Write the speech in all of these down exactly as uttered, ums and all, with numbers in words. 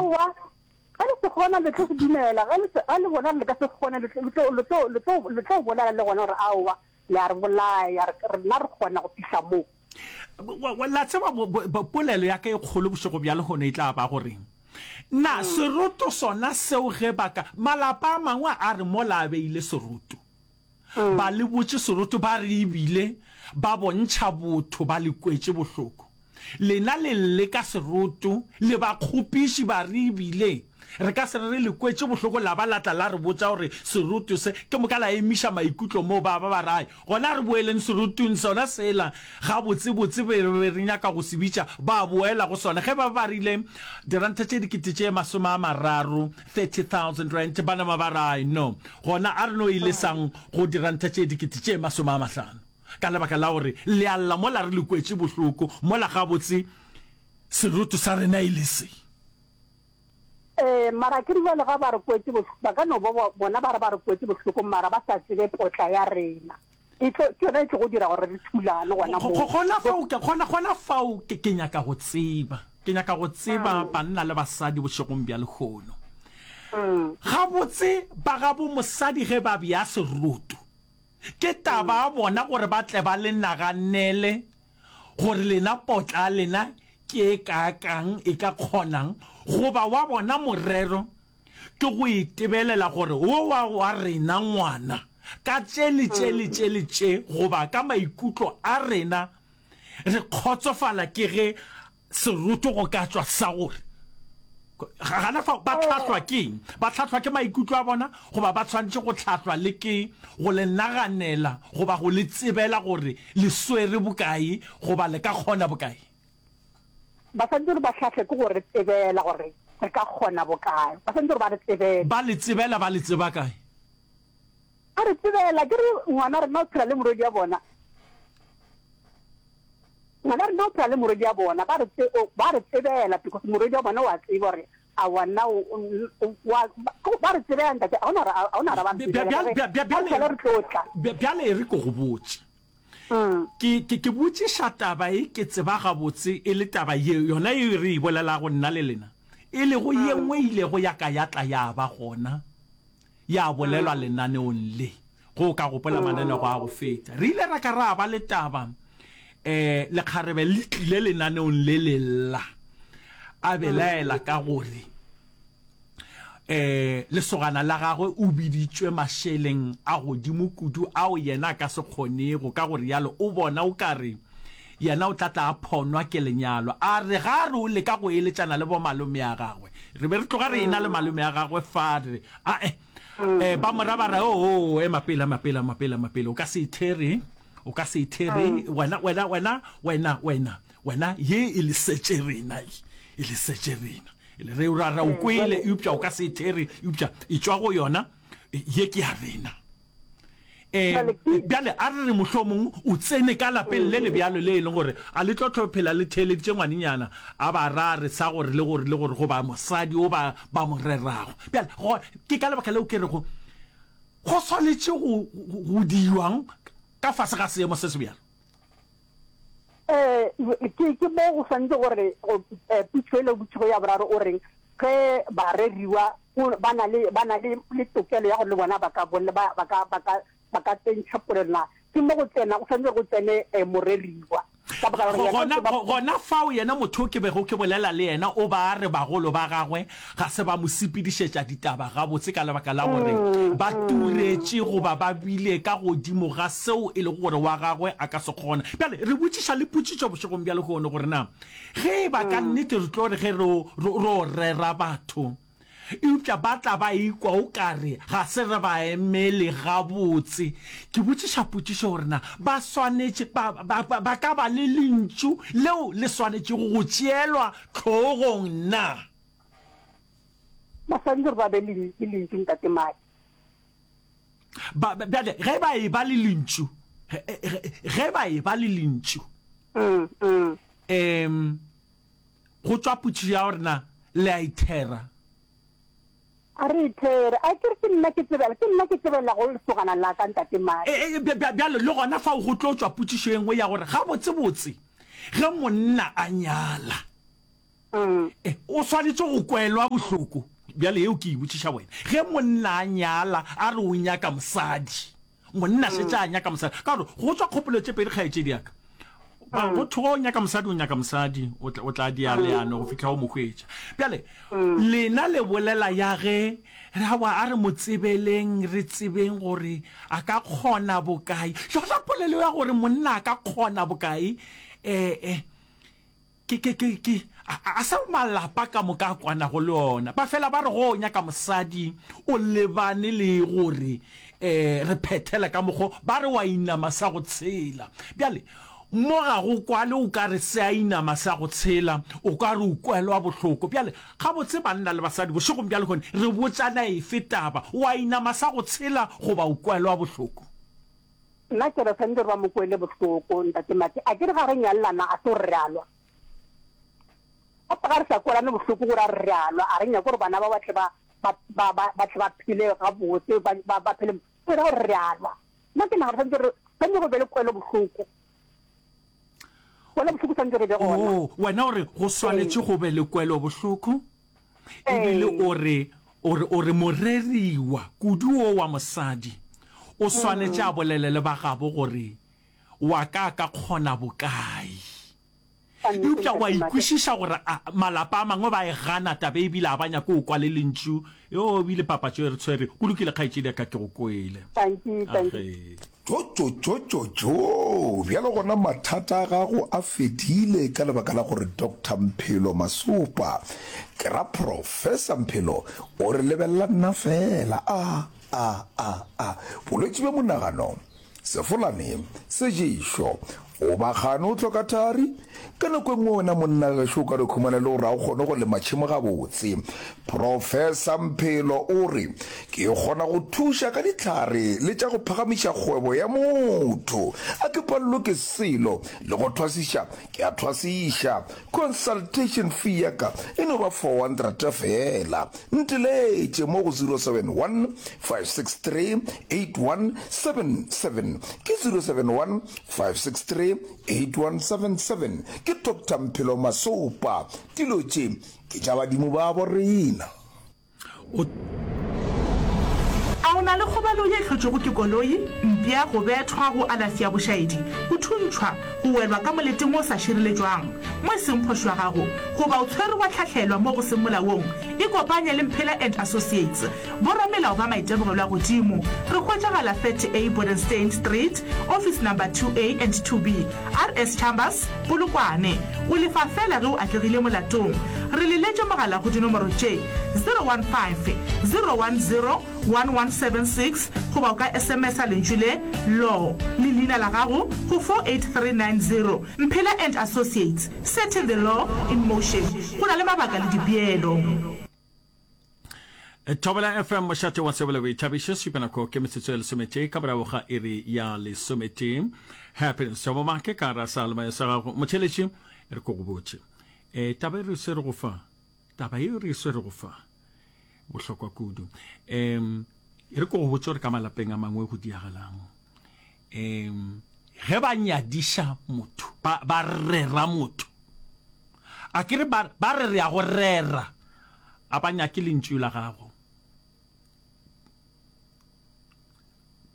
Aowa, ge le se kgona le tlo se dumela, ge le se, ge le bona le ka se kgone le tlo, le tlo, le tlo, le tlo, le tlo bolela le gona gore aowa, le a re bolaya, re, rena re kgona go fihla mo. La tseba, polelo ya ka e kgolo bošego bja lehono e tla ba gore, Na seroto sona seo ge ba ka, malapa a mangwe a re mola a beile seroto, ba le botše seroto ba re ebile ba bontšha botho ba le kwetše bohloko. Lena le lle ka seroto, le ba kgopiši ba re ebile re ka se re re le kwetše bohloko la ba la tla la re botša gore seroto se, ke moka la emiša maikutlo moo ba ba ba re ai gona re boeleng serotong sona sela gabotsebotse be re be re nyaka go se bitša, ba boela go sona ge ba ba rile diranta tše dikete tše masome a mararo, thirty thousand rand, ba nama ba re ai no gona a re no e lesang go diranta tše dikete tše masome a mahlano. Ka lebaka la gore le a lla mola re le kwetše bohloko, mola gabotse seroto sa rena e le se. Ee, mara ke re bjale ga ba re kwetše bohloko, ba ka no ba bona ba re ba re kwetše bohloko mara ba sa tsebe potla ya rena. E tlo, ke yona e tlogo dira gore re thulane gona moo. Gona fao, gona, gona fao ke, ke nyaka go tseba, ke nyaka go tseba banna le basadi bošegong bja lehono. Gabotse ba gabo mosadi ge ba bea seroto, Ke taba ya bona gore ba tle ba le naganele gore lena potla ya lena ke e kaakang, e ka kgonang, goba wa bona morero ke go itebelela gore wo wa wa rena ngwana ka tše le tše le tše le tše goba ka maikutlo a rena re kgotsofala ke ge Seroto go ka tšwa sa gore gana fao ba hlahlwa ke eng? Ba hlahlwa ke maikutlo a bona goba ba swanetše go hlahlwa le ke go le naganela goba go le tsebela gore le swere bokae goba le ka kgona bokae? Ba swanetše gore ba hlahlwe ke go re tsebela gore re ka kgona bokae. Ba swanetše gore ba re tsebele. Ba le tsebela ba le tseba kae? Ba re tsebela. Ke re ngwana rena o phela le morwedi wa bona. Ngwana rena o phela le morwedi wa bona, ba re tse, ba re tsebela because morwedi wa bona o a tseba gore aowa nna o, o, wa, ba re tsebela ntate, ga ona ga ona gore ba re tsebela ka ge ka mohlala re tlo tla. Bjale e re ke go botše. Ke, ke, ke botšiša taba e ke tseba gabotse e le taba ye, yona ye re e bolelago nna le lena, e lego ye nngwe e ilego ya ka ya tla ya ba gona. ya bolelwa lenaneong le. Ge o ka gopola mananego a go feta, re ile ra ka ra ba le taba, um lekgarebe le tlile lenaneong le le lla, a belaela ka gore um lesogana la gagwe o biditšwe mašeleng a godimo kudu ao yena a ka se kgonego, ka go rialo o bona o ka re yena o tla tla a phonwa ke lenyalo. A re ga a re o leka go eletšana le bomalome a gagwe. Re be re tloga re ena le malome a gagwe fa, re re, Ae, eh, ba mo ra ba re, Oo, ema pele, ema pele, ema pele, ema pele, o ka se ithere, o ka se ithere, wena, wena, wena, wena, wena, wena, ye e lesetše rena, ye e lesetše rena. E le re, ra, ra o kwele, eupša o ka se ithere, eupša e tšwa go yona, ye ke ya rena. Um bjale a re re mohlomong o tsene ka lapeng le le bjalo le e leng gore a le tlo tlo phela le theeleditše ngwanenyana a ba ra re sa gore le gore le gore goba mosadi o ba ba mo rerago. Bjale go ke ka lebaka leo ke rego go swanetše go go dirwang ka fase ga seemo se se bjalo. Eh, ke ke mo go swanetše gore go eh, putšo e le botšigo ya boraro o reng ge bareriwa ba na le ba na le le tokelo ya gore le bona ba ka ba ba ka ba ka ba ka tsentšha polelo na ke mo go tsena go swanetše go tsene eh, moreriwa ka baka la gore yena Gona, gona fao yena motho ke bego ke bolela le yena o ba a re bagolo ba gagwe ga se ba mo sepedišetša ditaba gabotse ka lebaka la gore ba turetše goba ba bile ka godimo ga seo e lego gore wa gagwe a ka se kgona. Bjale re botšiša le potšišo bošegong bja lehono gore na ge e ba ka nnete re tlo re ge re, re, ro rera batho eupša ba tla ba ikwa o ka re ga se re ba emele gabotse. Ke botšiša potšišo gore na ba swanetše, ba, ba, ba, ba ka ba le lentšu leo le swanetšego go tšeelwa hlogong na? Ba swanetše gore ba be le, le lentšu, Ntate Madi. Ba, bjale, ge ba eba le lentšu, ge, ge, ge ba eba le lentšu, mm, mm. Um, go tšwa potšišo ya gore na le a ithera. A re ithere. A ke re ke nna ke tsebela, ke nna ke tsebelago lesogana la ka, Ntate Madi. E, e, bjale le gona fao go tlo tšwa potšišo e nngwe ya gore gabotsebotse ge monna a nyala, Mm. E, o swanetše go kwelwa bohloko. Bjale yeo ke e botšiša wena. Ge monna a nyala, a re o nyaka mosadi, monna šetše a nyaka mosadi, ka gore go tšwa kgopolo tše pedi, kgaetšedi ya ka. Ba, go thwe o nyaka mosadi, o nyaka mosadi, o tla, o tla dia leano go fihla o mo hwetša. Bjale, lena le bolela ya ge, re aowa, a re mo tsebeleng, re tsebeng gore a ka kgona bokae. Yona polelo ya gore monna a ka kgona bokae, e, e, Ke, ke, ke, ke, a, a se malapa ka moka a kwanago le ona. Ba fela ba re go o nyaka mosadi o lebane le gore eh, re phethele ka mokgo, ba re wa inama sa go tshela. Bjale, mo ga go kwale o ka re se a inama sa go tshela, o ka re o kwelwa bohloko. Bjale, gabotse banna le basadi bošegong bja lehono re botšana efe taba, wa inama sa go tshela goba o kwelwa bohloko? Nna ke re swanetše gore ba mo kwele bohloko, Ntate Mati. A ke re ga re nyalelana a se gore re a lwa? Gape ga re sa kwelane bohloko gore a re re a lwa, a re nyake gore bana ba ba tle ba, ba, ba, ba, ba tle ba phele gabotse, ba, ba, ba phele, go ra gore re a lwa. Nna ke nagana swanetše re, swanetše go be le kwelo bohloko. Kwelo bohloko swanetše re be gona. Oh, wena o re go swanetše go be le kwelo bohloko? Ebile o re, o re, o re moreriwa, kudu wo wa mosadi, o swanetše a bolele le ba gabo gore wa ka a ka kgona bokae. Eupša o a ikwešiša gore a, malapa a mangwe ba e gana taba ebile a ba nyake go kwa le lentšu. Yo, ebile papatšo e re tshwere. Go lokile, kgaetšedi ya ka, ke go kwele. Age. Tšotšotšotšotšo! Bjalo gona mathata a gago a fedile ka lebaka la gore Doctor Mphelo Masopa, ke ra Professor Mphelo, o re lebelela nna feela. A, a, a, a. Bolwetši bja monagano, sefolane, seješo, o ba gane o hloka thari? Ka nako e nngwe wena monna gešo o ka no khumana e le gore ga o kgone go lema tšhemo gabotse. Professor Mphelo o re, Ke kgona go thuša ka dihlare le tša go phagamiša kgwebo ya motho. A ke palelwe ke selo, le go thwasiša ke a thwasiša. Consultation fee ya ka e no ba four hundred feela. Nteletše mo go zero seven one, five six three, eight one seven seven. Ke zero seven one, five six three, eight one seven seven. Ke Doctor Mphelo Masopa. Dilo tše ke tša badimo babo rena. O. A o na le kgobalo ye e hlotšwego ke koloi, mpša, go bethwa, go alafša bošaedi, go thuntšhwa, go welwa ka moleteng wo o sa šireletšwang, mo e seng phošo ya gago, goba o tshwerwe wa hlahlelwa mo go seng molaong? Ikopanye le Mphela and Associates, boramelao ba maitemogelo a godimo. Re hwetšagala thirty A Bodenstein Street, Office Number two A and two B, R S Chambers, Polokwane. O lefa feela ge o atlegile molatong. Re leletše mogala go dinomoro tše, zero one five, zero one zero, one one seven six goba o ka S M S-a lentšu le, Law, le leina la gago go four eight three nine zero. Mphela and Associates, setting the law in motion. Go na le mabaka le dipeelo. Thobela F M, mošate wa tsebo le boithabišo, šupa nako ke metsotso e lesometee ka morago ga iri ya lesometee. Happiness Thabo Make ka ra sa lemayo sa gago motheletši, re ko go botše e, taba e re swerego fa, taba e re swerego fa bohlokwa kudu. Um e re ko go botše gore ka malapeng a mangwe go diagalang um ge ba nyadiša motho, ba, ba rera motho, a ke re ba, ba re re ya go rera, a ba nyake lentšu la gago.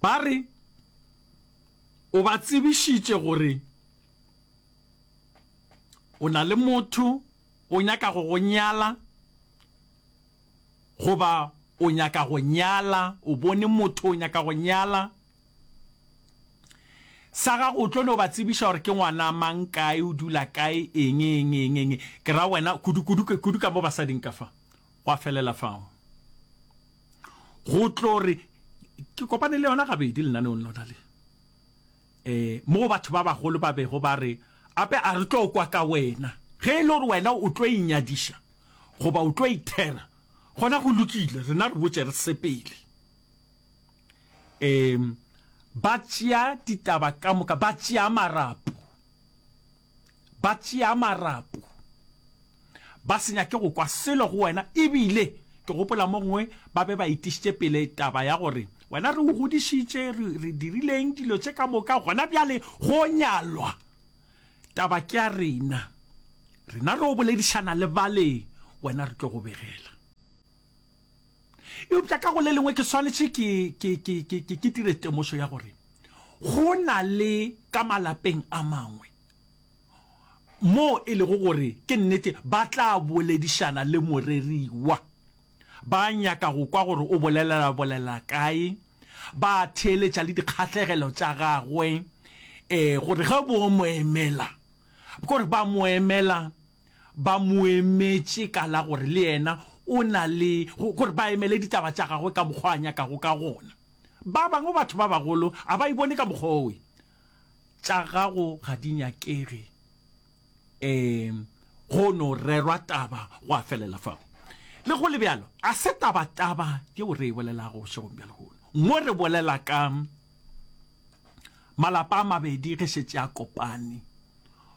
Ba re o ba tsebišitše gore o na le motho o nyaka go go nyala, goba o nyaka go nyala, o bone motho o nyaka go nyala. Sa gago o tlo no ba tsebiša gore ke ngwana mang, kae, o dula kae, eng, eng, eng, eng. Ke ra wena, kudu, kudu, kudu ka mo basading ka fa. Gwa felela fao. Go tlo re, ke kopane le yona gabedi lenaneong lona le. Eh, mo batho ba bagolo ba bego ba re, ape a re tlo kwa ka wena. Ge e le gore wena o tlo inyadiša, goba o tlo ithera, gona go lokile, rena re botše re sepele. Um ba tšea ditaba ka moka, ba tšea marapo, ba tšea marapo, ba se nyake go kwa selo go wena. Ebile ke gopola mo gongwe ba be ba etišitše pele taba ya gore wena re o godišitše, re, re dirileng dilo tše ka moka, gona bjale go nyalwa, taba ke ya rena. Rena re o boledišana le bale, wena re tlo go begela. Eupša ka go le lengwe ke swanetše ke, ke, ke, ke, ke, ke dire temošo ya gore go na le ka malapeng a mangwe moo e lego gore ke nnete ba tla boledišana le moreriwa. Ba nyaka go kwa gore o bolelela bolela kae, ba theeletša le dikgahlegelo tša gagwe, eh, gore ge bo mo emela, kore ba mo emela, ba mo emetše ka la gore le yena o na le, gore ba emele ditaba tša gagwe ka mokgwa a nyakago ka gona. Ba bangwe batho ba bagolo a ba e bone ka mokgwa owe. Tša gago ga di nyakege, um go no rerwa taba gwa felela fao. Le go le bjalo, a se tabataba yeo re e bolelago bošegong bja lehono. Mo re bolela ka malapa a mabedi ge šetše a kopane,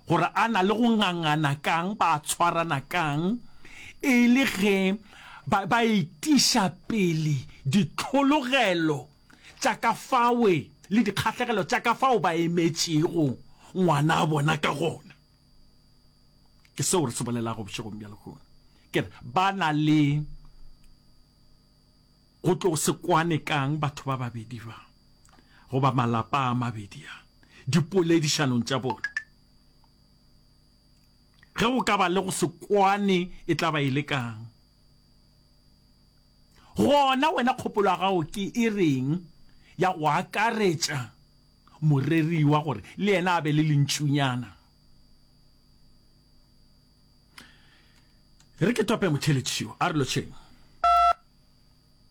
gore a na le go ngangana kang, ba tshwarana kang, e le ge ba, ba etiša pele ditlhologelo tša ka fawe le dikgahlegelo tša ka fao ba emetšego ngwana a bona ka gona. Ke seo re se bolelago bošegong bja lehono. Ke re ba na le go tlo se kwane kang batho ba babedi ba, goba malapa a mabedi a, dipoledišanong tša bona. Ge go ka ba le go se kwane e tla ba e le kang? Gona wena kgopolo ya gago ke e reng ya go akaretša moreriwa gore le yena a be le lentšunyana? Re ke tope motheletši yo, a re lotšheng.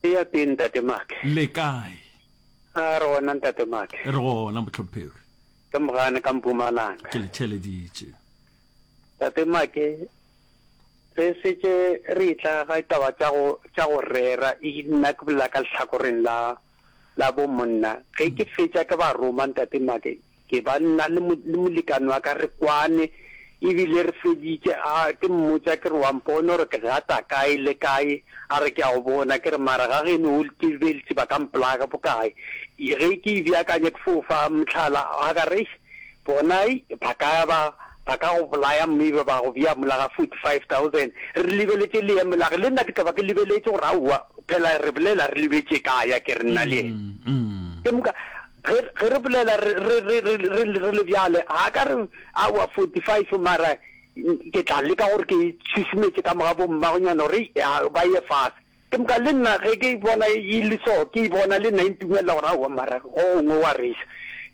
Eya teng Ntate Make. Le kae? A re gona Ntate Make. Re gona mohlomphegi. Ke Mogane ka Mpumalanga. Ke le theeleditše. Tate Make, re setše re etla ga ditaba tša go tša go rera, e nna ke bolela ka lehlakoreng la la bo monna. Ge ke fetša ke ba roma Ntate Make, Ke ba nna le, le molekane wa ka re kwane, ebile re feditše. A ke mmotša ke re, Wa mpona gore ke gata kae le kae? A re, Ke a go bona. Ke re, Mara ga geno o ke be ba ka mpolaya bokae? Ge ke e beakanya ke fo fa mohlala, a ka re, Eish, bona ba ka ba, ba ka go bolaya mme ebe ba go bea mola ga forty five thousand. Re lebeletše leemo la ge, le nna ke tla ba ke lebeletše gore aowa, phela re bolela re lebetše kae, a ke re nna le yena. Ke moka Ge, ge re bolela re, re, re, re, re, re le bjale, ga ka re, aowa, forty five, mara ke tla leka gore ke šušumetše ka moga bommagonyana gore ya, ba ye fase. Ke moka le nna ge ke bona e le so, ke e bona le nna e ntumelela gore aowa, mara go gongwe wa resa.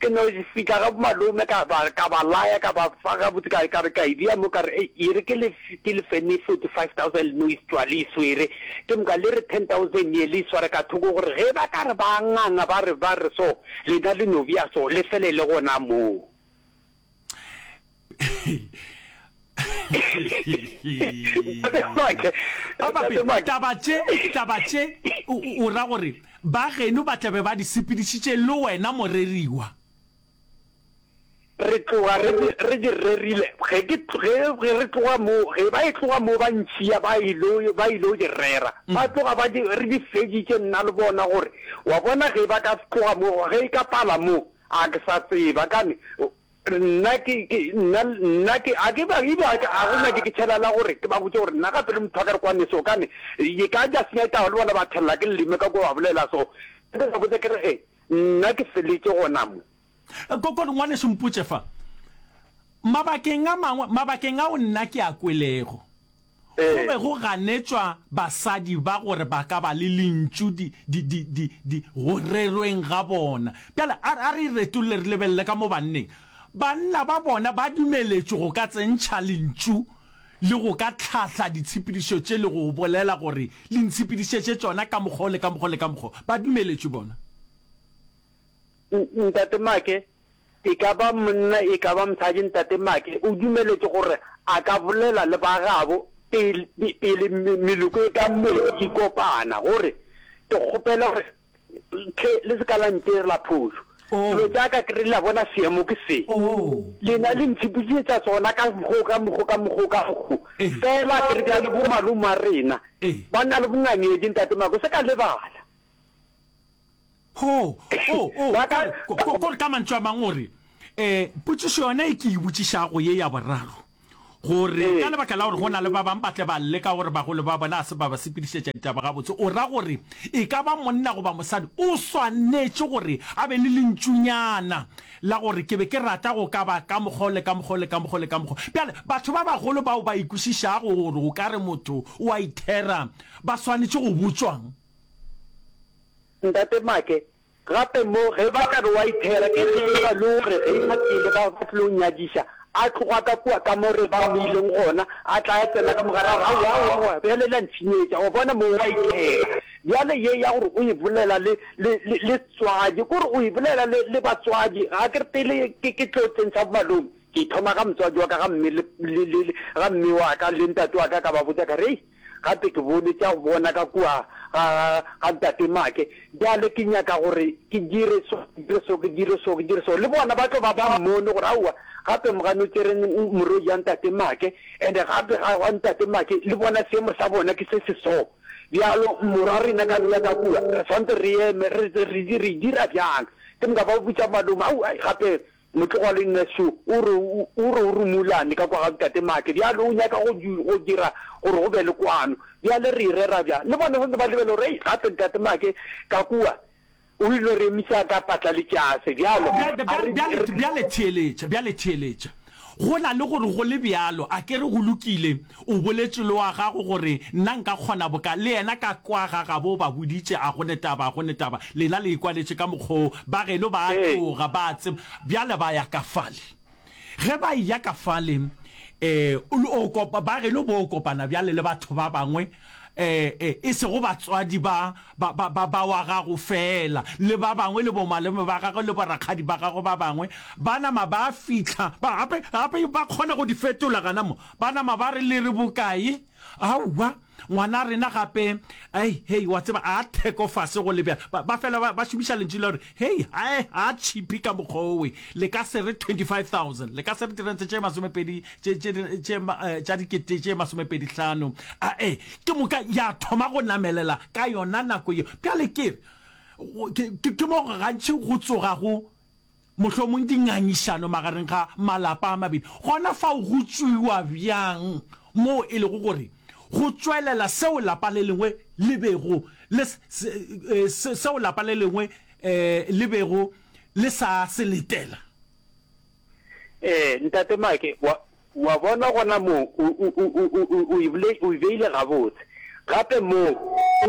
Ke no fihla ga bomalome ka ba, ka ba laya, ka ba fa gabotse, ka, ka re ka e bea mo, ka re, Ei, e re ke le, ke le fene forty five thousand le no e tšwa le e swere. Ke moka le re ten thousand ye le e sware ka thoko gore ge ba ka re ba nganga ba re ba re so, lena le no bea so, le felele gona moo. Taba tše, taba tše o ra gore ba geno ba tla be ba di sepedišitše le wena moreriwa? Re tloga re di, re di rerile. Ge ke, ge, ge re tloga mo, ge ba e tloga mo ba ntšhia ba ilo, ba ilo di rera. Ba tloga ba di, re di feditše nna le bona gore, wa bona ge ba ka tloga mo, ge e ka pala mo, a ke sa tseba kane, nna ke, ke, nna, nna ke, a ke ba, ebe a ke, a go nyake ke tšhela la gore ke ba botše gore nna gape le motho wa ka re kwane so, kane, e ka ja senya taba le bona ba thelela ke leleme ka kwa ba bolela so. Ke ba botša ke re, e, nna ke feletše gona mo. Kokoro, ngwanešu, mpotše fa. Mabakeng a mangwe, mabakeng ao nna ke a kwelego, go be go ganetšwa basadi ba gore ba ka ba le lentšu di, di, di, di, di, go rerweng ga bona. Bjale a, a re e retolle re lebelele ka mo banneng. Banna ba bona ba dumeletšwe go ka tsentšha lentšu le go ka tlhahla ditshepedišo tše le go bolela gore le ntshepedišetše tšona ka mokgwa o le ka mokgwa le ka mokgwa. Ba dumeletšwe bona. Ntate Make, e ka ba monna e ka ba mosadi, Ntate Make o dumeletše gore a ka bolela le ba gabo pele, pele meloko e ka mebedi e kopana, gore, Ke kgopela gore hle le se ka la ntirela phošo. Dilo tša ka ke re la bona seemo ke se. Lena le ntshepedišetša sona ka mokgo, ka mokgo, ka mokgo, ka mokgo. Fela ke re bjale bomalome a rena ba na le bongangedi, Ntate Make, o se ka lebala. Ho, o, o, Ba ka- ko, ko, ko, ka mantšu a mangwe o re, eh, potšišo yona e ke e botšišago ye ya boraro, Gore ka lebaka la gore go na le ba bangwe ba tle ba lle ka gore bagolo ba bona ga se ba ba sepedišetša ditaba gabotse, o ra gore e ka ba monna goba mosadi o swanetše gore a be le lentšunyana la gore ke be ke rata go ka ba ka mokgwa o le ka mokgwa o le ka mokgwa o le ka mokgwa. Bjale, batho ba bagolo bao ba ikwešišago gore o ka re motho o a ithera ba swanetše go botšwang? Ntate Make, Gape mo, ge ba ka re wa ithera, ke ge e ba le gore ge ba tlile ba, ba tlilo nyadiša, a tloga ka kua ka mo re ba mo ileng gona, a tla a tsena ka mo gare a re, Aowa, aowa, aowa, bjale le a ntshenyetša, wa bona mo wa ithera. Bjale ye ya gore o e bolela le, le, le, le tswadi, ke gore o e bolela le, le batswadi, ga ke re pele ke, ke tlo tsentšha bomalome, ke thoma ga motswadi wa ka, ga mme le, le, le, ga mme wa ka le ntate wa ka, ka ba botša ka re, Hei, Gape ke bone tša go bona ka kua ga, ga Ntate Make. Bjale ke nyaka gore ke dire so, ke dire so, ke dire so, ke dire so. Le bona ba tlo ba ba mmone gore aowa, gape mogane o tšere morwedi ya Ntate Make, and-e gape ga, ga Ntate Make le bona seemo sa bona ke se se so. Bjalo morwa rena ka bea ka kua, re swanetše re eme, re, re, re dira bjang? Ke moka ba botša malome, aowa, gape Motlogwa-le-nna šo, o re, o re o rumolane ka kwa ga Ntate Make, bjale o nyaka go, go dira gore go be le kwano. Bjale re e rera bjang? Le bona santse ba lebele gore, Hei, gape Ntate Make ka kua o ile re emisa ka patla le tšase. Bjalo, Bjale, a re, bjale, re. bjale theeletša, bjale theeletša. Go na le gore go le bjalo, a ke re go lokile, o boletše le wa gago gore nna nka kgona boka le yena ka kwa ga gabo o ba boditše, a go ne taba, a go ne taba, lena le ikwaletše ka mokgwa wo, ba geno ba a tloga, ba a tseba, bjale ba ya ka fale. Ge ba eya ka fale, um o kopa, ba geno bo kopana bjale le batho ba bangwe, e, e, e sego batswadi ba, ba, ba, ba, ba wa gago feela, le ba bangwe, le bomalome ba gagwe, le borakgadi ba gagwe ba bangwe, ba nama ba fihla, ba, gape, gape ba kgona go di fetola gana mo, ba nama ba re, Le re bokae? Aowa, ngwana rena gape, ei, hei, wa tseba, a theko fase go le bjalo. Ba, ba fela ba, ba šomiša lentšu la gore, Hei, ae, a tšhipi ka mokgwa owe, le ka se re twenty-five thousand, le ka se re dirente tše masomepedi, tše, tše, tše, tša dikete tše masomepedi hlano. Ae, ke moka ya thoma go namelela ka yona nako yeo. Bjale ke re, ke, ke, ke mo gantši go tsogago mohlomong dingangišano magareng ga malapa a mabedi. Gona fao go tšwiwa bjang moo e lego gore go tšwelela seo lapa le lengwe le bego le seo lapa le lengwe le bego le sa se letela? Ee, Ntate Mike, wa, wa bona gona moo o, o, o, o, o, o e bole, o e beile gabotse. Gape moo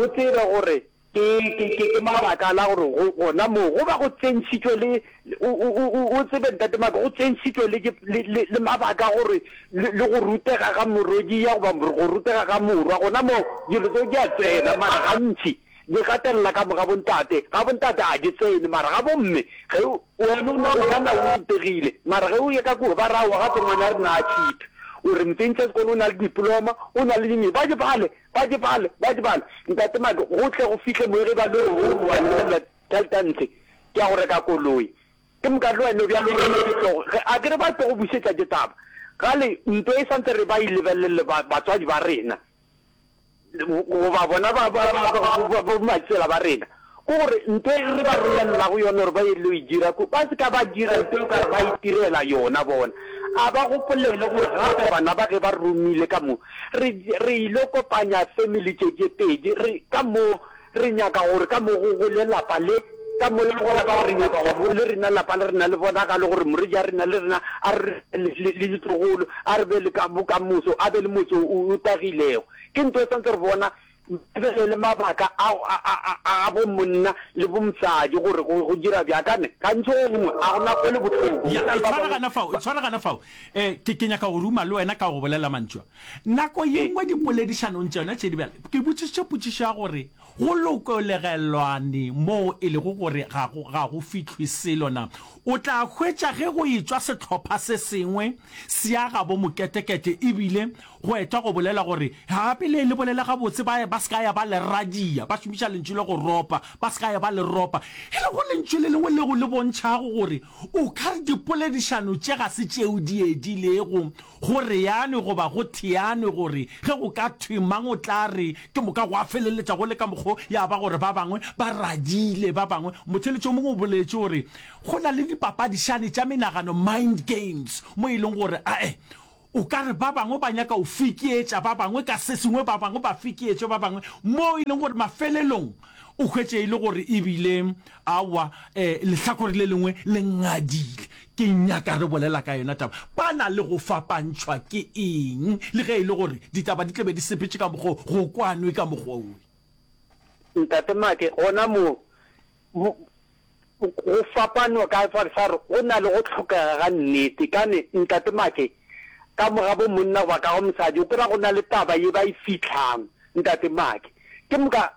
o tsebe gore Ke, ke, ke, ke mabaka la gore go, gona moo go ba go tsentšhitšwe le, o, o, o, o, o tsebe Ntate Maka, go tsentšhitšwe le, le, le, le mabaka gore le, le go rutega ga morwediya goba go rutega ga morwa, gona moo dilo tseo di a tsena, mara gantši di gatelela ka mo ga bontate, ga bontate ga di tsene, mara ga bomme ge wena o, o ka na o rutegile, mara ge o ye ka kua ba re aowa gape ngwana rena a cheap, o re mtsentšha sekolo o na le diploma, o na le ding, ba di bale. Ba di bale, ba di bale. Ntate Mike, go tle go fihle mo ge ba le gore o wa lebelela tšhelete ntshe ke ya go reka koloi. Ke moka le wena bjalo o reme ditlogo. Ge a ke re ba tlo go bušetša ke taba. Gale nto e santse re ba e lebelele ba batswadi ba rena goba bona ba ba ba ba bomatsela ba rena. Ke gore nto e re ba romelelago yona gore ba ye lo e dira ko, ba se ka ba dira nto e ka re ba itirela yona bona. A ba gopolele gore gape bana ba ge ba romile ka mo, re, re ilo kopanya family tše tše pedi, re, ka mo re nyaka gore ka mo go gole lapa le, ka mo le gona ka gore re nyaka gore le rena lapa le rena le bonagale gore morwedi ya rena le rena a re le, le, le ditlogolo, a re be le ka bokamoso, a be le motse o, o tagilego. Ke nto e santse re bona Lebelele mabaka a, a, a, a bomonna le bomosadi gore go, go dira bjang. Ka ne, gantši go gongwe a go na kwele bohloko. Ya, Go na le ba tshwara bangwe gana fao, ba. tshwara gana fao. Eh, ke, ke nyaka go ruma le wena ka go bolela mantšu a. Nako ye Ee. nngwe dipoledišanong tšona tše di bjalo, ke botšišitše potšišo ya gore go lokolegelwane moo e lego gore ga go, ga go fihlwe selo na. O tla hwetša ge go etšwa sehlopha se sengwe se ya gabo moketekete ebile Go etwa go bolela gore gape le le bolele gabotse ba ba se ka ya ba le radia, ba šomiša lentšu le go ropa, ba se ka ya ba le ropa, e lego lentšu le lengwe leo le bontšhago gore o ka re dipoledišano tše ga se tšeo di edilego go reanwe goba go theanwe gore ge go ka thwe mang o tla re ke moka gwa feleletša go le ka mokgo ya ba gore ba bangwe ba radile ba bangwe. Motheeletši o mongwe o boletše gore go na le dipapadišane tša menagano, mind games, mo e leng gore ae O ka re ba bangwe ba nyaka go fekeetša ba bangwe ka se sengwe, ba bangwe ba fekeetše ba bangwe, moo e leng gore mafelelong o hwetše e le gore e bile aowa, eh, lehlakore le lengwe le ngadile. Ke nyaka re bolela ka yona taba. Ba na le go fapantšhwa ke eng, le ge e le gore ditaba di tla be di sepetše ka mokgwa wo, go kwanwe ka mokgwa wo? Ntate Make, gona mo, mo, go fapanwa ka fa sa re go na le go hlokega ga nnete. Kane, Ntate Make, ka mo ga bo monna goba ka go mosadi, o kry-a go na le taba ye ba e fihlang, Ntate Make. Ke moka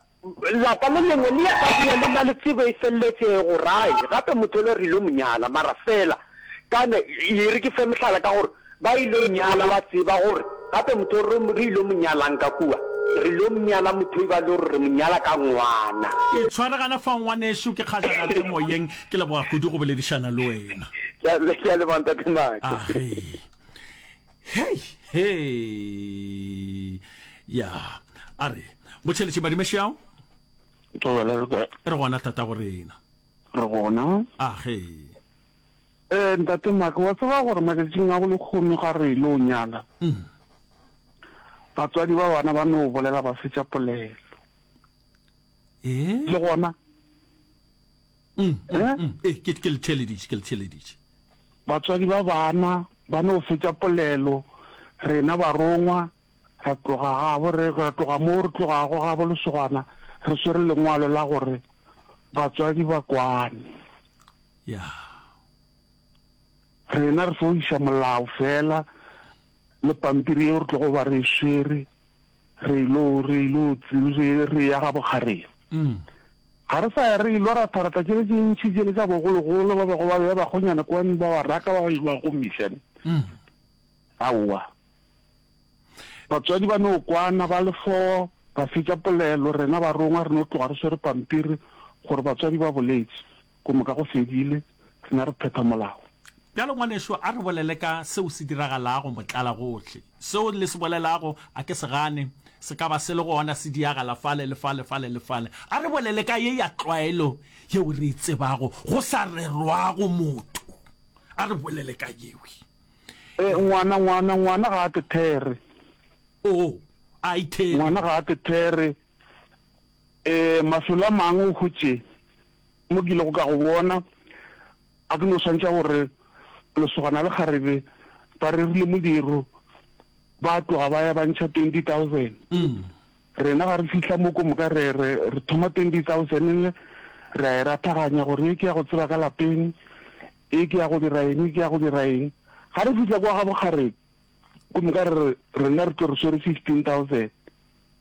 lapa le lengwe le ya ka kua le na le tsebo e feleletšego, rai, gape motho yola re ilo mo nyala, mara fela, kane, e re ke fe mohlala ka gore ba ilo nyala ba tseba gore gape motho re, re ilo mo nyalang ka kua, re ilo mo nyala motho e ba le gore re mo nyala ka ngwana. Ke tshwaregana fa ngwanešu, ke kgajana le moyeng, ke leboga kudu go boledišana le wena. Ke a, ke a leboga Ntate Make. Age. Hei, hei. Ya, a re, Motšheletše Madimešeao. Thobela re kae? Re gona tatago rena. Re gona. Age. Eh, Ntate Make, wa tseba gore matšatšing a bolehono ga re ilo nyala, batswadi ba bana ba no bolela ba fetša polelo. Eh? Le gona? Mm, mm, mm. Eh, ke, ke le theeleditše, ke le theeleditše. Batswadi ba bana ba no fetša polelo, rena barongwa ra tloga gabo, re, ra tloga moo re tlogago gabo lesogana, re swere lengwalo la gore batswadi ba kwane. Ya. Rena re fo iša molao fela le pampiri yeo re tlogo ba re e swere, re ilo, re ilo, re, re ya ga bokgarebe. Ga re sa ya re ilo ratharatha tšele tše ntši tšele tša bogologolo ba bego ba bea bakgonyana kwano ba ba raka ba ba gomiša. Aowa. Batswadi ba no kwana ba le four, ba fetša polelo, rena barongwa re no tloga re swere pampiri gore batswadi ba boletše, ko moka go fedile, rena re phetha molao. Bjalo ngwanešu, a re bolele ka seo se diragalago motlalagohle. Seo le se bolelago, a ke se gane, se ka ba se le gona, se diagala fale le fale, fale le fale. A re bolele ka ye ya tlwaelo yeo re e tsebago, go sa rerwago motho. A re bolele ka yewe. E, ngwana, ngwana, ngwana ga a te there. Oo, a ithere. Ngwana ga a te there. E, mafelo a mangwe o hwetše mo ke ilego ka go bona, a ke no swantšha gore lesogana le kgarebe ba rerile modiro, ba tloga ba ya ba ntšha twenty thousand. Rena ga re fihla mo ko moka re, re, re thoma twenty thousand re a e rathaganya gore ye ke ya go tseba ka lapeng, e ke ya go dira eng, e ke ya go dira eng. Ga re fihla kwa ga bokgarebe, ko moka re re, rena re tlo re swere fifteen thousand.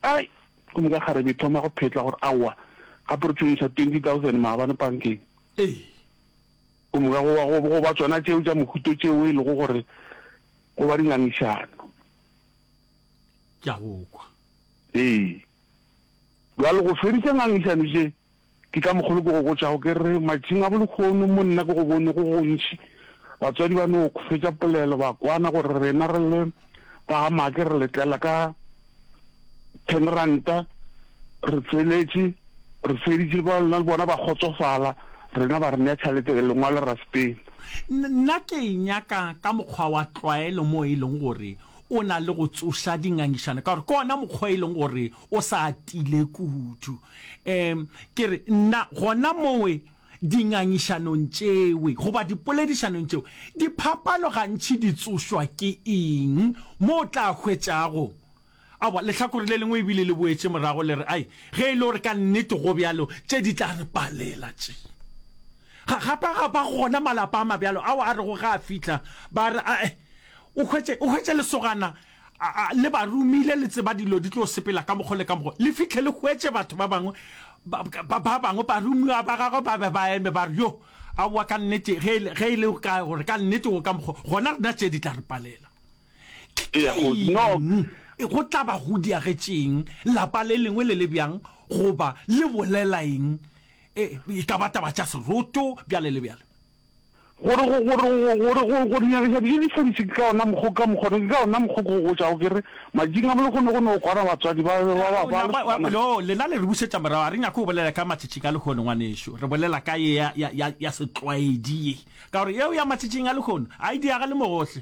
Ai, ko moka kgarebe e thoma go phetla gore aowa, gape re tlo iša twenty thousand maabane pankeng. Ee. Ko moka go, go, go ba tšona tšeo tša mohuto tšeo e lego gore go ba dingangišano. Ke a go kwa. Ee. Bjale go fediša ngangišano tše, ke ka mokgwa ke go botšago ke re, matšing a bolehono mo nna ke go bone go gontši, batswadi ba no fetša polelo ba kwana gore rena re le ba ga Make re le tlela ka ten ranta, re tsweletše, re feditše, ba le bona ba kgotsofala, rena ba re nea tšhalete, lengwalo ra sepela. Nna ke e nyaka ka mokgwa wa tlwaelo mo e leng gore o na le go tsoša dingangišano, ka gore ke ona mokgwa e leng gore o sa atile kudu. Um ke re nna gona mowe dingangišanong tšewe goba dipoledišanong tšeo, diphapano gantši di tsošwa ke eng mo o tla hwetšago Aowa, lehlakore le lengwe ebile le boetše morago le re, Ai, ge e le gore ka nnete go bjalo, tše di tla re palela tše. Ga, gape ga ba gona malapa a mabjalo ao a rego ge a fihla, ba re, Ae, o hwetše, o hwetše lesogana, a, a, le ba romile, le tseba dilo di tlo sepela ka mokgo le ka mokgo. Le fihle le hwetše batho ba bangwe, ba, ba, ba bangwe baromiwa ba gagwe ba be ba eme ba re, Yo, aowa, ka nnete, ge e le, ge e le ka gore ka nnete go ka mokgo, gona rena tše di tla re palela. Ke eng go tla ba go diagetšeng lapa le lengwe le le bjang goba le bolela eng? E, e ka ba taba tša seroto, bjale le bjale. Gore go, gore go, gore go, go dinyakiša dijo di feditše ke ka ona mokgwa, ka mokgwa, ke ka ona mokgwa ke go botšago ke re, matšatšing a lehono go no kwana batswadi ba, ba, ba, ba, ba lesogana. No, lena le re bušetša morago, ga re nyake go bolela ka matšatšing a lehono, ngwanešu, re bolela ka ye ya, ya, ya, ya setlwaedi ye, ka gore yeo ya matšatšing a lehono ga e diagale mo gohle.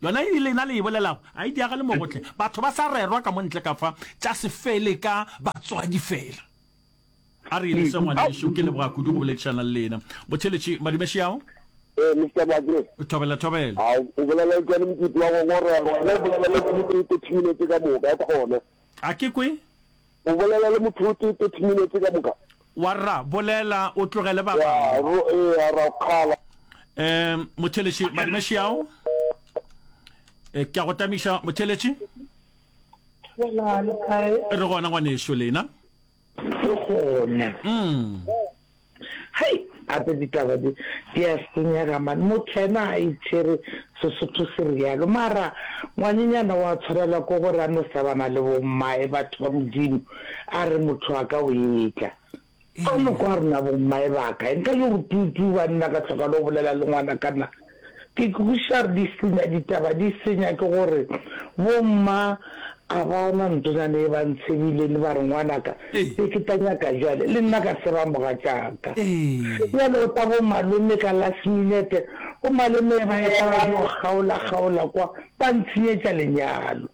Yona e lena le e bolelago a e diagale mo gohle. Batho ba sa rerwa ka mo ntle ka fa, tša se fele ka batswadi fela. A re e lese ngwanešu, ke leboga kudu go boledišana le lena. Botheletši, madume šiao. Ee, Mister Makre. Thobela, thobela. A o bolela le Tšwane Mokutu wa ngongorego, wena o bolela le motho o tee thirty minutes ka moka, khona. A ke kwe? O bolela le motho o tee thirty minutes ka moka. Warra, bolela o tlogele ba Ya, bangwe. ro, ee, ra o kgala. Um, motheletši, madume šiao. Eh, ke a go tamiša, motheletši. Thobela, le kae? Re gona ngwanešu, lena? Re gona. Mm. Hei, gape ditaba di, di a senyega man. Motho yena a itshwere Sesotho se realo. Mara ngwanenyana wa tshwanelwa ke gore a no sebana le bommae batho ba Modimo, a re motho wa ka o etla. A no kwa rena bommae ba kae? Nka yo go tuu-tuu banna ka hloka le go bolela le ngwana ka na. Ke kwešiša gore di senya ditaba, di senya ke gore bomma a ba na ntonyana e ba ntshebile ba re ngwanaka be ke tla nyaka bjale le nna ka seba mogatšaka. Bjale o tla bo malome ka last minute, bo malome ba etla ba dio kgaola kgaola kwa ba ntshenyetša lenyalo.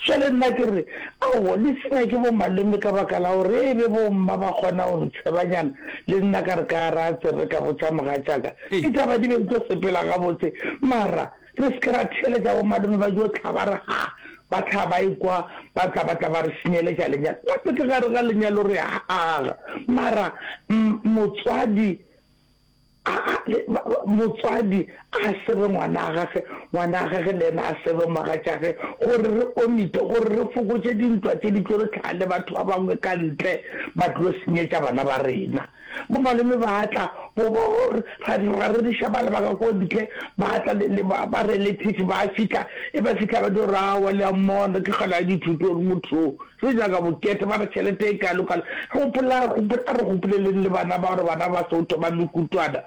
Jwale nna ke re, Aowa, le senya ke bomalome ka baka la gore e be bomma ba kgona go ntshebanyana, le nna ka re ka ra tsebe ka botša mogatšaka. Ditaba di be di tlo sepela gabotse, mara re se ke ra theeletša bomalome ba dio hlaba ba re ha, ba hlaba ba ekwa ba tla ba tla ba re senyeletša lenyalo. Gape ke gare ga lenyalo re a aga, mara motswadi A, a, le, ba, ba, motswadi a sebe ngwana a gage, ngwana a gage le yena a sebe mogatšage, gore re omite, gore re fokotše dintwa tše di tlo re hlaga le batho ba bangwe ka ntle ba tlo senyetša bana ba rena. Bomalome ba tla, bo, bo, ra, ra reriša bana ba ka ko ntle, ba tla le, le ba, ba relatives ba fihla, e ba fihla ba dio re, Aowa, le a mmona, ke kgale a dithuto gore motho o. Re nyaka bokete, ba re tšhelete e kalo-kalo. Gopola, gopola, a re gopoleleng le bana ba gore bana ba so thoma mekutwana.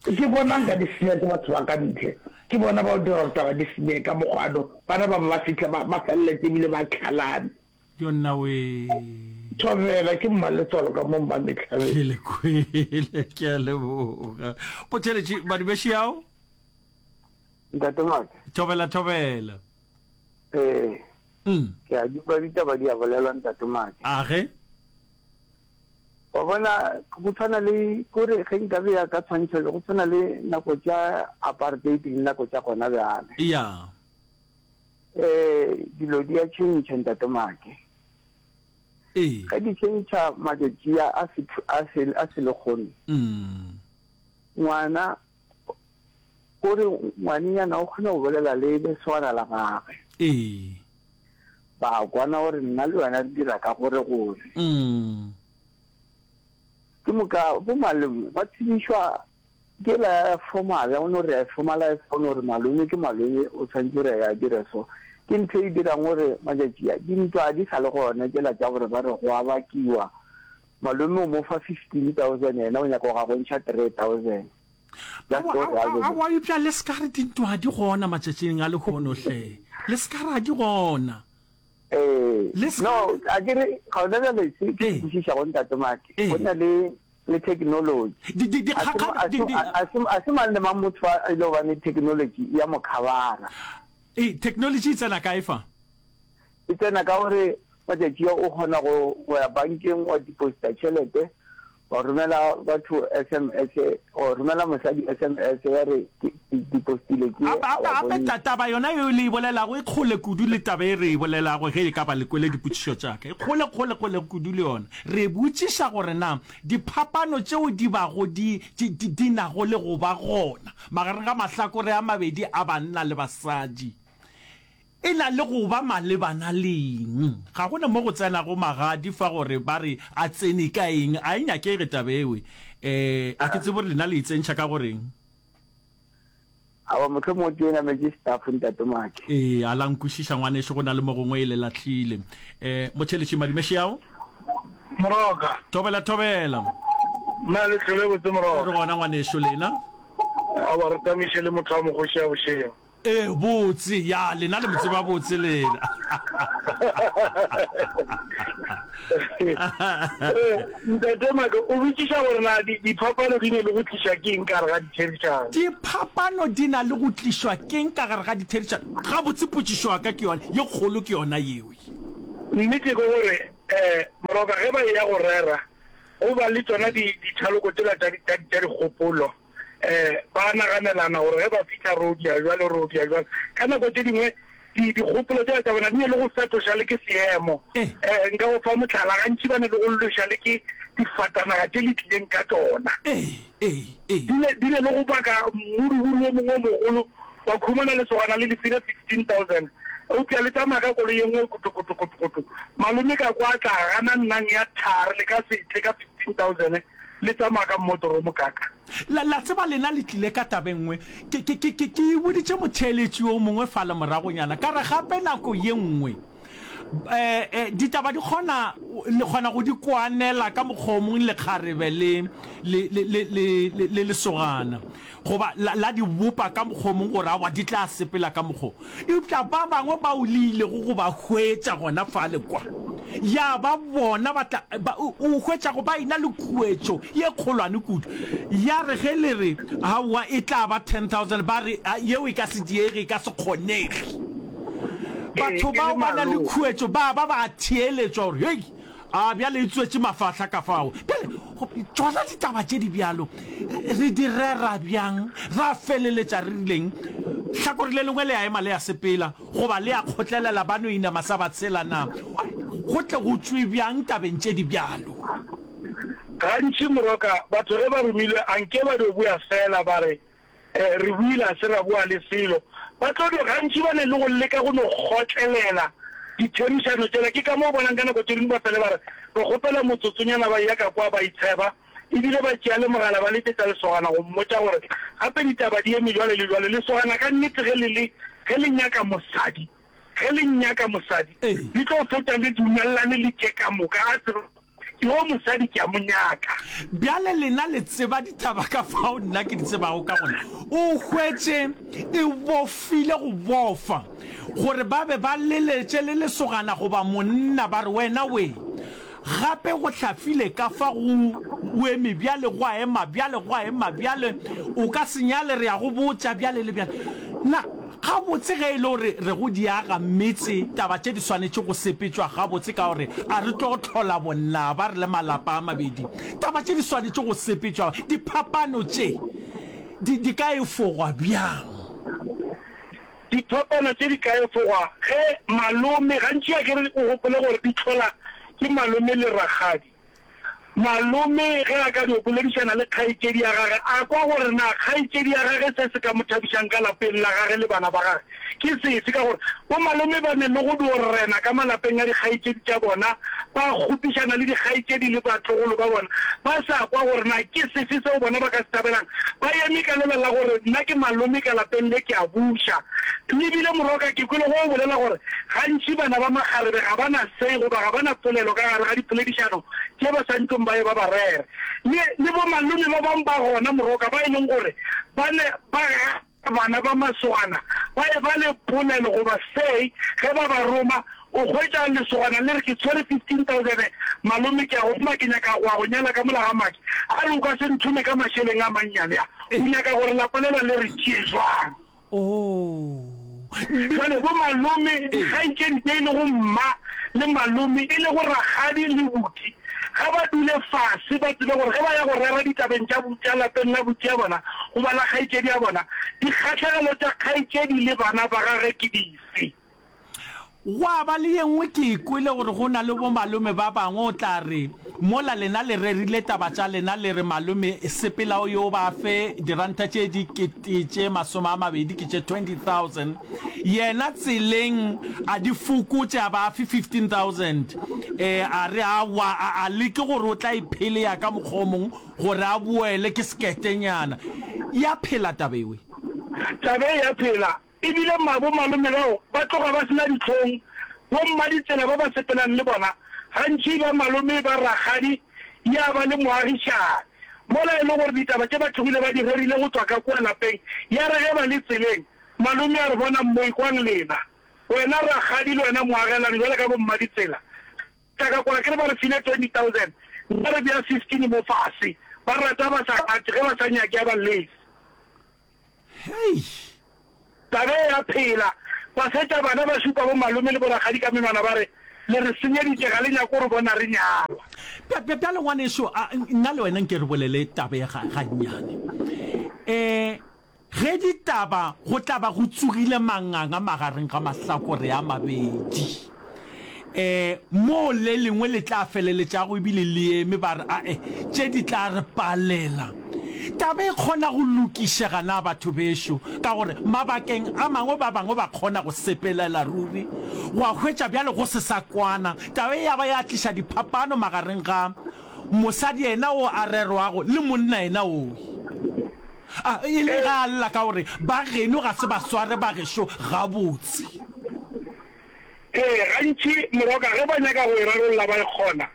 Ke bona nka di senya ke batho ba ka ntle. Ke bona ba o dira gore taba di senyege ka mokgwa no. Bana ba ba ba fihla ba, ba feleletše ebile ba tlhalane. Yo nna wee. Thobela, ke mmaletswalo ka mo Mmametlhabeng. Ke le kwele, ke a leboga. Botheletši, Madumešiao. Ntate Maka. Thobela, thobela. Ee. Mm. Ke a di kwa ditaba di a bolelwa Ntate Make. A ge? Wa bona go tshwana le kore ge nka beya ka tshwantšho go tshwana le nako tša apartheid le nako tša gona bjale. Ya. Eh dilo di a tšhentšha Ntate Make. Ee. Ge di tšhentšha matšatši a a se a se a se lekgono. Mm. Ngwana kore ngwanenyana o kgona go bolela le lesogana la gagwe. Ee. Ba kwana gore nna le wena re dira ka gore gore. Mm. Ke moka bo malome ba tsebišwa ke la ya formal, ya no re ya formalize go no re malome ke malome o tshwanetse gore a dire so. Ke ntho e dirang gore matšatši a dintwa di sa le gona tšela tša gore ba re go a bakiwa. Malome o mo fa fifteen thousand yena o nyaka go ga go ntšha three thousand. Just Aowa, gore a aowa, be. aowa, eupša le se ka re dintwa ga di gona matšatšing a lehono hle. Le se ka re ga di gona. Ee, Le se ka no, re. a ke re gona bjale se ke se Ee. kwešišago Ntate Make, go Ee. na le le technology. Di, di, A se, dikgakgano, a di, se, di. a se, a se mang le mang motho a e le gobane technology ya mo khabara. Ee, technology e tsena kae fa? E tsena ka gore matšatši a o kgona go, go ya bankeng wa deposita tšhelete, wa romela batho S M S, wa romela mosadi S M S ya re ke, ke depositile ke ye, Gape, a gape, wa gape bontšha. ta, taba yona yeo le e bolelago e kgole kudu le taba e re e bolelago ge e ka ba le kwele dipotšišo tša ka. E kgole, kgole, kgole kudu le yona. Re botšiša gore na diphapano tšeo di bago di, di, di, di nago le go ba gona magareng ga mahlakore a mabedi a banna le basadi e na le go ba malebana le eng. Ga go na mo go tsenago magadi fa gore ba re a tsene ka eng. A e nyakege taba ewe. Um a ke tsebe gore lena le e tsentšha ka go reng. Aowa, mohlomongwe ke e nametše staff, Ntate Make. Ee, a la nkwešiša ngwanešu, go na le mo gongwe e le lahlile. Um Motšheletši Madimešiao. Moroka. Thobela, thobela. Na le hlole botse Moroka? Re gona ngwanešu, lena? Aowa, re tamiše le motho wa mokgoši ya bošego. Ee, botse, ya, lena le mo tseba botse lena. Ntate Make, o botšiša gore na diphapano di ne le go tlišwa ke eng ka gare ga ditherišano? Diphapano di na le go tlišwa ke eng ka gare ga ditherišano? Gabotse potšišo ya ka ke yona, ye kgolo ke yona yeo. Nnete ke gore, um Moroka, ge ba eya go rera, go ba le tšona dithaloko tšela tša dikgopolo. um ba naganelana gore ge ba fihla ro dia bjalo, ro dia bjalo. Ka nako tše dingwe di, dikgopolo tšela tša bona di ne le go fetoša le ke seemo. Um nka go fa mohlala, gantši ba ne le go lweša le ke difatanaga tše le tlileng ka tšona. Di ne, di ne le go baka mmuduburu wo mongwe o mogolo, wa khumana lesogana le lefile fifteen thousand, eupša le tsamaya ka koloi ye nngwe kotokotokotokoto. Malome ka kwa a tla gana nnang ya thari, le ka se tle ka fifteen thousand. Le tsamaya ka mmotoro o mokaka. La, la tseba lena le tlile ka taba e nngwe. Ke, ke, ke, ke, ke e boditše motheeletši yo mongwe fale moragonyana, ka re gape nako ye nngwe, eh, eh, ditaba di kgona, le kgona go di kwanela ka mokgwa o mongwe lekgarebe le, le, le, le, le, le, le lesogana, goba la, la di bopa ka mokgwa o mongwe gore aowa di tla sepela ka mokgwa wo. Eupša ba bangwe bao le ilego go ba hwetša gona fale kwa, ya ba bona ba tla, ba, o, o hwetšago ba ena le khuetšo ye kgolwane kudu. Ya re ge le re, Aowa, e tla ba ten thousand, ba re, A, yeo e ka se diege, e ka se kgonege. Ee, Batho e le bao ba na le malome. khuetšo, ba ba ba theeletšwa gore, Hei, A bjale e tswetše mafahla ka fao. Bjale, tšona ditaba tše di bjalo re di rera bjang? Ra feleletša re rileng? Hlakore le lengwe le a ema le a sepela, goba le a kgotlelela ba no inama sa ba tshela na? Go tle go tšwe bjang tabeng tše di bjalo? Gantši, Moroka, batho ge ba romilwe, a nke ba dio boya feela ba re, Re buile a se ra boa le selo. Ba tlo no gantši ba ne le go leka go no kgotlelela ditherišano tšela. Ke ka mo o bonang ka nako tše dingwe ba fele ba re, Re kgopela motsotsonyana ba eya ka kwa ba itsheba, ebile ba tšea le mogala ba letšetša lesogana go mmotša gore gape ditaba di eme jwale le jwale. Lesogana ka nnete ge le le ge le nyaka mosadi, ge le nyaka mosadi, le tlo fetša le dumelelane le tše ka moka a tseba Yo mosadi ke a mo nyaka. Bjale lena le tseba ditaba ka fao nna ke di tsebago ka gona. O hwetše e bofile go bofa, gore ba be ba leletše le lesogana goba monna, ba re, Wena we! Gape go hlafile ka fa go o eme bjale, gwa ema bjale, gwa ema bjale, o ka se nyale, re a go botša, bjale le bjale. Na Gabotse ge e le gore re go di aga metse, taba tše di swanetše go sepetšwa gabotse ka gore a re tlo hlola bonaba re le malapa a mabedi. Taba tše di swanetše go sepetšwa, diphapano tše di, di ka efogwa bjang? Diphapano tše di ka efogwa ge malome, gantši a ke re o gopole gore di hlola ke malome le rakgadi. Malome ge a ka dio boledišana le kgaetšedi ya gage, a kwa gore na kgaetšedi ya gage se se ka mo thabišang ka lapeng la gage le bana ba gage ke sefe, ka gore bomalome ba ne le go dio rena ka malapeng a dikgaetšedi tša bona, ba kgopišana le dikgaetšedi le batlogolo ba bona, ba sa kwa gore na ke sefe seo bona ba ka se thabelang. Ba eme ka lela la gore nna ke malome ka lapeng le ke a buša. Le bile Moroka ke kwele go o bolela gore gantši bana ba makgarebe ga ba na say goba ga ba na polelo ka gare ga dipoledišano tše ba sa ntlong ba ye ba ba rere. Le, le bomalome ba bang ba gona Moroka ba e leng gore ba ne ba gana bana ba masogana ba ye ba le polelo goba say ge ba ba roma. O hwetša lesogana le re ke tshwere fifteen thousand malome ke a go roma ke nyaka go ya go nyala ka mola ga Maki. A re o ka se nthome ka mašeleng a mannyane a. O nyaka gore lapa lela le re tšee jwang? Oh. Bjale bomalome, dikgaetšedi tše e lego mma le malome, e lego rakgadi le buti, ga ba dule fase ba tsebe gore ge ba ya go rera ditabeng tša, tša lapeng la buti ya bona goba la kgaetšedi ya bona, dikgahlegelo tša kgaetšedi le bana ba gagwe ke dife. Gwa ba le ye nngwe ke e kwele gore go na le bomalome ba bangwe o tla re mola lena le rerile taba tša lena le re malome sepela o yo ba fe diranta tše dikete tše masome a mabedi ke tše twenty thousand yena tseleng a di fokotše a ba fe fifteen thousand eh a re aowa a a leke gore o tla e pheleya ka mokgwa o mongwe gore a boele ke seketenyana ya phela taba ewe. Taba e ya phela E bile bomalome bao ba tloga ba se na dihlong. Bommaditsela ba ba sepelang le bona gantši ba malome ba rakgadi ya ba le moagišani. Mola e le gore ditaba tše ba tlogile ba di rerile go tšwa ka kua lapeng, ya re ge ba le tseleng Malome a re, Bonang mo, ekwang lena, wena rakgadi le wena moagelani, bjale ka bommaditsela. Tla ka kwa ke re ba re file twenty thousand, nna re bea fifteen mo fase. Ba rata ba sa rate, ge ba sa nyake a ba llese. Hei! Taba e ya phela. Ba fetša bana ba šupa bo malome le bo rakgadi ka menwana ba re, Le re senyeditše, ga le nyake go re bona re nyalwa. Bja, bja, bjale ngwanešu, a, nna le wena nke re bolele taba ye ga, gannyane. E, ge ditaba go tla ba go tsogile manganga magareng ga mahlakore a mabedi, e, moo le lengwe le tla feleletšago ebile le eme ba re, Ae, tše di tla re palela. Taba e kgona go lokišega na batho bešo? Ka gore mabakeng a mangwe ba bangwe ba kgona go sepelela ruri, gwa hwetša bjale go se sa kwana. Taba e ya ba ya tliša diphapano magareng ga mosadi yena o a rerwago le monna yena owe. A e le ge a lla ka gore ba geno ga se ba sware ba gešo gabotse. Ee, gantši moroka ge ba nyaka go e rarolla ba e kgona.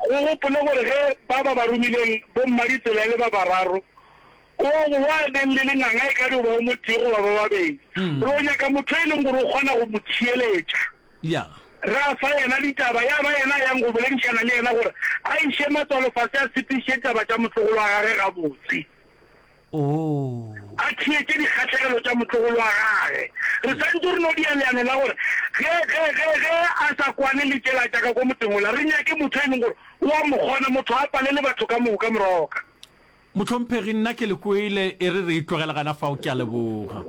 O gopole gore ge ba ba ba romileng bommaditsela e le ba bararo, o wa neng le lenganga e ka dio ba o motee goba ba babedi. Re o nyaka motho e leng gore o kgona go mo theeletša. Ra fa yena ditaba, ya ba yena a yang go boledišana le yena gore a iše matswalo fase a sepediše ditaba tša motlogolo wa gage gabotse. A theetše dikgahlegelo tša motlogolo wa gage. Re santše re no dia leano la gore ge, ge, ge, ge a sa kwane le tšela tša ka ko motseng wola, re nyake motho e leng gore o a mo kgona, motho a palele batho ka moka, Moroka. Mohlomphegi, nna ke le kwele, e re re e tlogele gana fao, ke a leboga.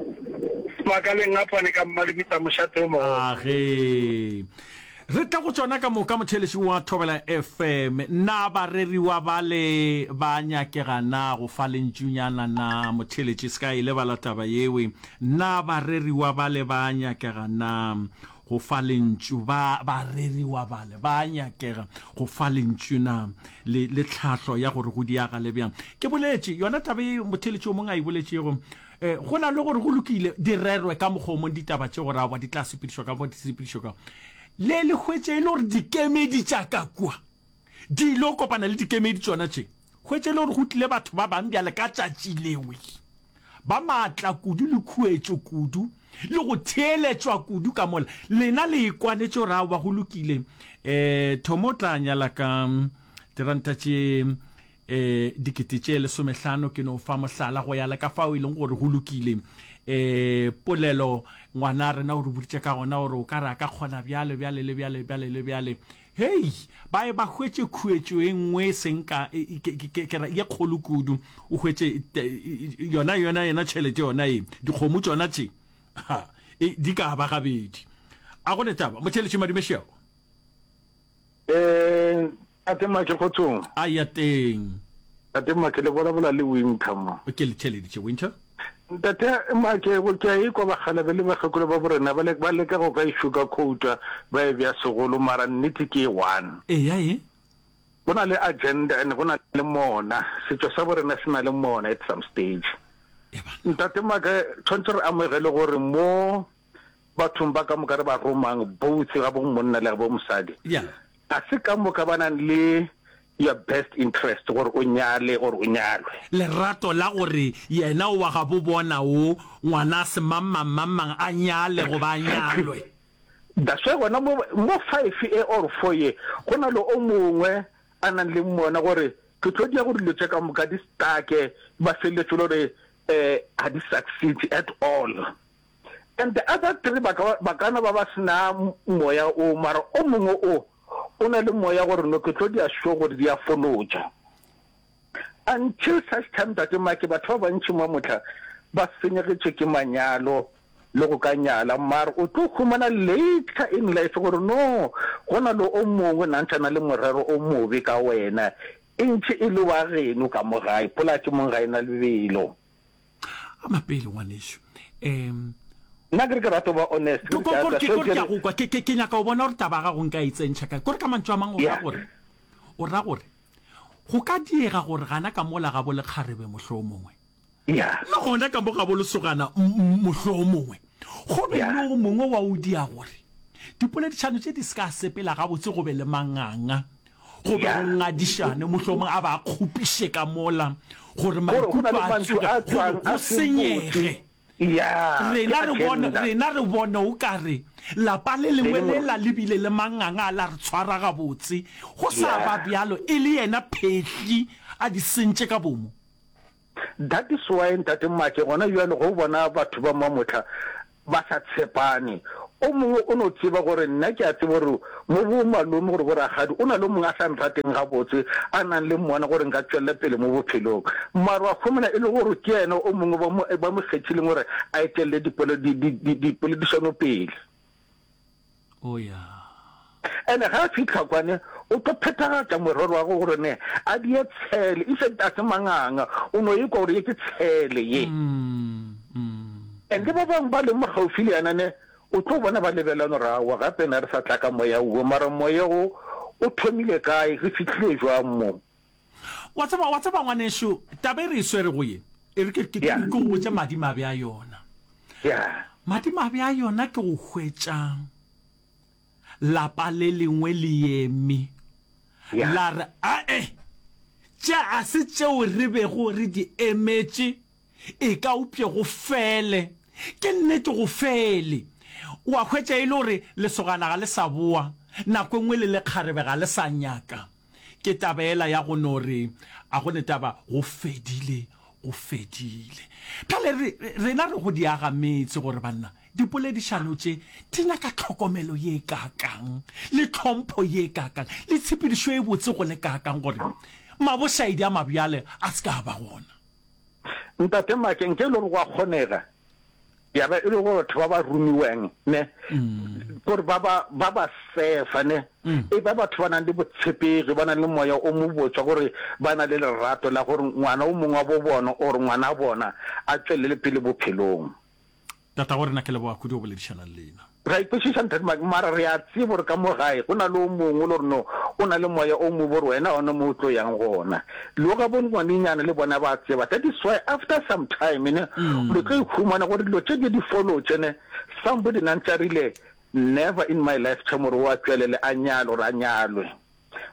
Makaleng a fane ka Mmalebitsa mošate o mogolo. Age. Re tla go tšona ka moka, motheeletši wa Thobela F M. Na bareriwa bale ba nyakega na go fa lentšunyana na? Motheeletši, se ka e lebala taba yewe. Na bareriwa bale ba nyakega na go fa lentšu? Ba, bareriwa bale ba nyakega go fa lentšu na? Le, le tlhahlo ya gore go diagale bjang. Ke boletše yona taba ye motheeletši o mongwe a e boletšego. E, go na le gore go lokile di rerwe ka mokgwa o mong ditaba tše gore aowa di tla sepedišwa ka mo di sepedišwa ka. Le le hwetše e le gore dikemedi tša ka kua di ile go kopana le dikemedi tšona tše. Hwetše e le gore go tlile batho ba bang bjale ka tšatši lewe ba maatla kudu le khuetšo kudu le go theeletšwa kudu ka mola. Lena le ikwanetše gore aowa go lokile e, Thomo o tla nyala ka diranta tše E, dikete tše lesomehlano, ke no fa mohlala, go ya le ka fao e leng gore go lokile. E, polelo, ngwana rena o re boditše ka gona gore o ka re a ka kgona bjale, bjale le bjale, bjale le bjale. Hei, ba ye ba hwetše khuetšo e nngwe e seng ka, e, ke, ke, ke, ke ra, ye kgolo kudu. O hwetše yona, yona, yona tšhelete yona ye, dikgomo tšona tše, ha, e, di ka ba gabedi. A go ne taba, motheeletši Madumešego. Eh, Tate Make kgotsong. A ya teng. Tate Make le bolabola le Winter mo. Ke le theeleditše Winter. Ntate Make go ke a ikwa bakgalabe le bakgekolo ba borena ba ba leka go ka e sugar coata ba e bea segolo mara nnete ke e one. Eya e. Go na le agenda and go na le mona. Setšo sa borena se na le mona at some stage. Ntate Make tshwanetse re amogele gore mo bathong ba ka moka re ba romang both ga bo monna le ga bo mosadi Yeah. ga se ka moka ba nang le your best interest gore o nyale or o nyalwe. Lerato la gore yena o wa gabo bona o ngwana semangmangmangmang a nyale goba a nyalwe. That's why gona mo mo five e or four ye go na le o mongwe a nang le mona gore ke tlo dia gore dilo tše ka moka di stake ba feleletše le gore um ga di succeed at all. And the other three ba ka ba ka no ba ba se na moya o, mara o mongwe o o na le moya gore no ke tlo dia sure gore di a folotša. Until such time Ntate Mike batho ba bantši mo mohla ba senyegetšwe ke manyalo le go ka nyala mara o tlo humana later in life gore no go na le o mongwe na ntše a na le morero o mobe ka wena e ntše e le wa geno ka mo gae polaya ke mong ga e na lebelo. Ama pele ngwanešu. Um Nna ke re ke rata go ba honest. Ke re ke ke ke a go kwa. Ke ke ke nyaka go bona gore taba ya gago nka e tsentšha kae. Kore ka mantšu a mang o ra gore o ra gore go ka diega gore gana ka mola ga bo lekgarebe mohlomongwe. Yeah. Le gona ka mo ga bo lesogana mohlomongwe. Go be le o mongwe wa o dia gore dipoledišano tše di se ka sepela gabotse go be le manganga. Go be go ngadišane, mohlomongwe a ba a kgopiše ka mola, gore Gore go na maikutlo le a mantšu tsoge, a gore tšwang go a seng botse. senyege. Ya, ke Rena re bone, agenda. rena re bone o ka re lapa le Le lengwe lengwe. lela le bile le manganga a la re tshwara gabotse, go sa Ya. ba bjalo e le yena Phehli a di sentše ka bomo. That is why Ntate Make gona bjalo ge o bona batho ba Mamohla ba sa tshepane, o mongwe o no tseba gore nna ke a tseba gore mo bo malome gore bo rakgadi o na le o mongwe a sa nrateng gabotse a nang le mona gore nka tšwelela pele mo bophelong mara wa khumana e le gore ke yena o mongwe ba mo ba mo kgethileng gore a etelele dipole di di di dipoledišano pele. Oh ya. Ene ge a fihla kwane o tlo phethagatša morero wa gagwe gore ne a die tshele, in fact a se manganga, o no ekwa gore ye ke tshele ye. And le ba bangwe ba leng mo gaufi le yena ne o tlo bona ba lebelana gore aowa gape ne re sa tla ka moya wo, mara moya wo o thomile kae, re fihlile jwang mo? Wa tseba, wa tseba ngwanešu, taba e re e swerego ye, e re ke, ke, Yeah. ke go botše madimabe a yona. Yeah. Madimabe a yona ke go hwetša lapa le lengwe le eme, Yeah. la re, Ae, tše ga se tšeo re bego re di emetše, e ka upše go fele. Ke nnete go fele. O a hwetša e le gore lesogana ga le sa boa, nako e nngwe le lekgarebe ga le sa nyaka. Ke taba yela ya go no re, A go ne taba, go fedile, go fedile. Bjale re, rena re go di aga metse gore banna, dipoledišano tše di nyaka tlhokomelo ye kaakang, le tlhompho ye kaakang, le tshepedišo e botse go le kaakang gore mabošaedi a mabjale a se ka a ba gona. Ntate Make, nke e le gore go a kgonega, ya ba e le gore batho ba ba romiwang, ne, gore ba ba, ba ba sefa, ne, e ba batho ba nang le botshepegi, ba nang le moya o mobotse wa gore ba na le lerato la gore ngwana o mongwe wa bo bona or ngwana bona a tšwelele pele bophelong. Tatago rena, ke leboga kudu go boledišana le lena. Re a ikwešiša Ntate Mike, mara re a tseba gore ka mo gae go na le o mongwe le gore no o na le moya o mobe gore wena gona mo o tlo yang gona. Le ga bo ngwanenyana le bona ba tseba. That is why after some time ne le tlo ikhumana gore dilo tše ke di follow tše ne somebody na ntše a rile never in my life time gore o a tšwelele a nyale gore a nyalwe.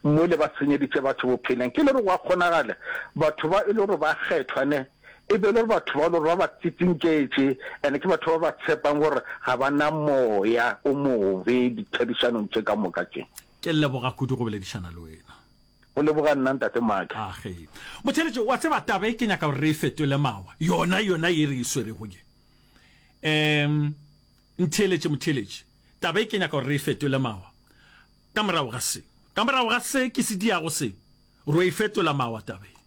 Mole ba senyeditše batho bophelong. Ke le gore gwa kgonagala batho ba e le gore ba kgethwa ne e be e le gore batho ba e le gore ba ba tsitsinketše and ke batho ba ba tshepang gore ga ba na moya o mobe ditherišanong tše ka moka tše. Ke leboga kudu go boledišana le wena. Go leboga nna Ntate Maake. Age. Motheeletši, wa tseba taba e ke nyaka gore re e fetole mawa, yona, yona ye re e swerego ye. Um, ntheeletše motheeletši, taba e ke nyaka gore re e fetole mawa. Ka morago ga se, ka morago ga se ke se diago se, ro e fetola mawa taba ye.